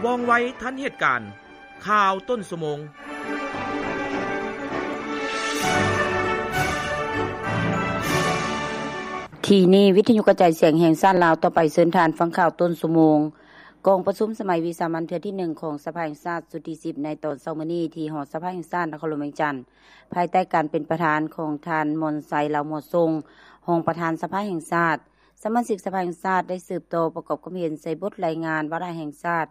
ວ່ອງໄວທັນເຫດການ. ຂ່າວຕົ້ນຊົ່ວໂມງ. ທີ່ນີ້ ວິທະຍຸກະຈາຍສຽງແຫ່ງຊາດລາວ. ຕໍ່ໄປເຊີນທ່ານຟັງຂ່າວຕົ້ນຊົ່ວໂມງ. ກອງປະຊຸມສະໄໝວິສາມັນເທື່ອທີໜຶ່ງຂອງສະພາແຫ່ງຊາດຊຸດທີສິບ ໃນຕອນເຊົ້າມື້ນີ້ ທີ່ຫໍສະພາແຫ່ງຊາດນະຄອນຫຼວງວຽງຈັນ ພາຍໃຕ້ການເປັນປະທານຂອງທ່ານ ມອນໄຊ ລາວໝໍ່ຊົງ ຮອງປະທານສະພາແຫ່ງຊາດ. ສະມາຊິກສະພາແຫ່ງຊາດໄດ້ສືບຕໍ່ປະກອບຄຳເຫັນໃສ່ບົດລາຍງານວາລະແຫ່ງຊາດ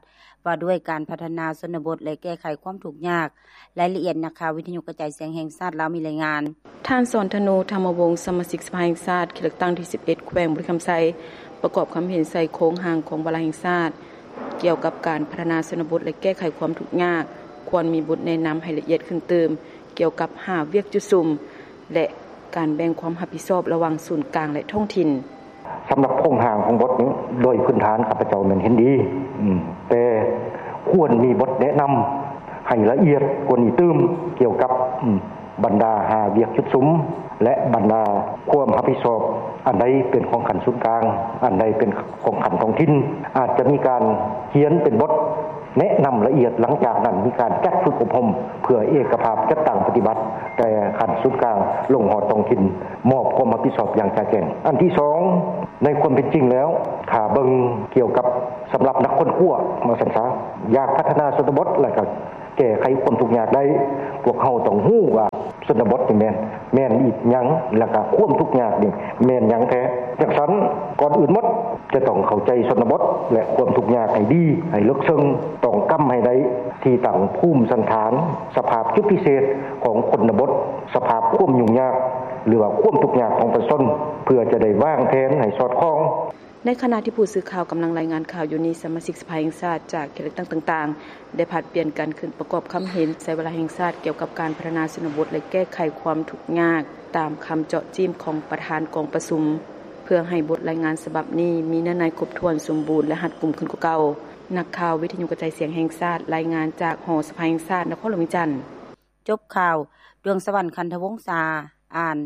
ວ່າດ້ວຍການພັດທະນາຊົນນະບົດ ແລະ ແກ້ໄຂຄວາມທຸກຍາກ. ລາຍລະອຽດ ນັກຂ່າວວິທະຍຸກະຈາຍສຽງແຫ່ງຊາດລາວມີລາຍງານ. ທ່ານ ສອນທະນູ ທຳມະວົງ ສະມາຊິກສະພາແຫ່ງຊາດ ເຂດເລືອກຕັ້ງທີສິບເອັດ ແຂວງບໍລິຄຳໄຊ ປະກອບຄຳເຫັນໃສ່ໂຄງຮ່າງຂອງວາລະແຫ່ງຊາດ ກ່ຽວກັບການພັດທະນາຊົນນະບົດ ແລະ ແກ້ໄຂຄວາມທຸກຍາກ ຄວນມີບົດແນະນຳໃຫ້ລະອຽດຂຶ້ນຕື່ມ ກ່ຽວກັບຫ້າວຽກຈຸດສຸມ ແລະ ການແບ່ງຄວາມຮັບຜິດຊອບລະຫວ່າງສູນກາງ ແລະ ທ້ອງຖິ່ນ. ສຳລັບໂຄງຮ່າງຂອງບົດນີ້ ໂດຍພື້ນຖານຂ້າພະເຈົ້າແມ່ນເຫັນດີ, ອືມ ແຕ່ຄວນມີບົດແນະນຳໃຫ້ລະອຽດກວ່ານີ້ຕື່ມ ກ່ຽວກັບ ອືມ ບັນດາຫ້າວຽກຈຸດສຸມ ແລະ ບັນດາຄວາມຮັບຜິດຊອບ ອັນໃດເປັນຂອງຂັ້ນສູນກາງ ອັນໃດເປັນຂອງຂັ້ນທ້ອງຖິ່ນ ອາດຈະມີການຂຽນເປັນບົດ ແນະນຳລະອຽດ. ຫຼັງຈາກນັ້ນມີການຈັດຝຶກອົບຮົມ ເພື່ອເອກະພາບຈັດຕັ້ງປະຕິບັດ ແຕ່ຂັ້ນສູນກາງລົງຮອດທ້ອງຖິ່ນ ມອບຄວາມຮັບຜິດຊອບຢ່າງຈະແຈ້ງ. ອັນທີສອງ ໃນຄວາມເປັນຈິງແລ້ວ ຖ້າເບິ່ງກ່ຽວກັບສຳລັບນັກຄົ້ນຄວ້າ ວ່າຊັ້ນຊະ ຢາກພັດທະນາຊົນນະບົດ ແລະ ກໍແກ້ໄຂຄວາມທຸກຍາກໄດ້ ພວກເຮົາຕ້ອງຮູ້ວ່າຊົນນະບົດນີ້ແມ່ນ ແມ່ນອີ່ຫຍັງ ແລ້ວກໍຄວາມທຸກຍາກນີ້ແມ່ນຫຍັງແທ້. ຈັ່ງຊັ້ນ ກ່ອນອື່ນໝົດ ຈະຕ້ອງເຂົ້າໃຈຊົນນະບົດ ແລະ ຄວາມທຸກຍາກໃຫ້ດີ, ໃຫ້ເລິກເຊິ່ງ, ຕ້ອງກຳໃຫ້ໄດ້ທີ່ຕັ້ງພູມສັນຖານ, ສະພາບຈຸດພິເສດຂອງຊົນນະບົດ, ສະພາບຄວາມຫຍຸ້ງຍາກ ຫຼືວ່າຄວາມທຸກຍາກຂອງປະຊາຊົນ ເພື່ອຈະໄດ້ວາງແຜນໃຫ້ສອດຄ່ອງ. ໃນຂະນະທີ່ຜູ້ສື່ຂ່າວກຳລັງລາຍງານຂ່າວຢູ່ນີ້, ສະມາຊິກສະພາແຫ່ງຊາດຈາກເຂດເລືອກຕັ້ງຕ່າງໆ ໄດ້ຜັດປ່ຽນກັນຂຶ້ນປະກອບຄຳເຫັນໃສ່ວາລະແຫ່ງຊາດກ່ຽວກັບການພັດທະນາຊົນນະບົດ ແລະ ແກ້ໄຂຄວາມທຸກຍາກ ຕາມຄຳເຈາະຈີ້ມຂອງປະທານກອງປະຊຸມ ເພື່ອໃຫ້ບົດລາຍງານສະບັບນີ້ມີເນື້ອໃນຄົບຖ້ວນສົມບູນ ແລະ ຮັດກຸມຂຶ້ນກວ່າເກົ່າ. ນັກຂ່າວວິທະຍຸກະຈາຍສຽງແຫ່ງຊາດ ລາຍງານຈາກຫໍສະພາແຫ່ງຊາດນະຄອນຫຼວງວຽງຈັນ. ຈົບຂ່າວ. ດວງສະຫວັນ ຄັນທະວົງສາ ອ່ານ.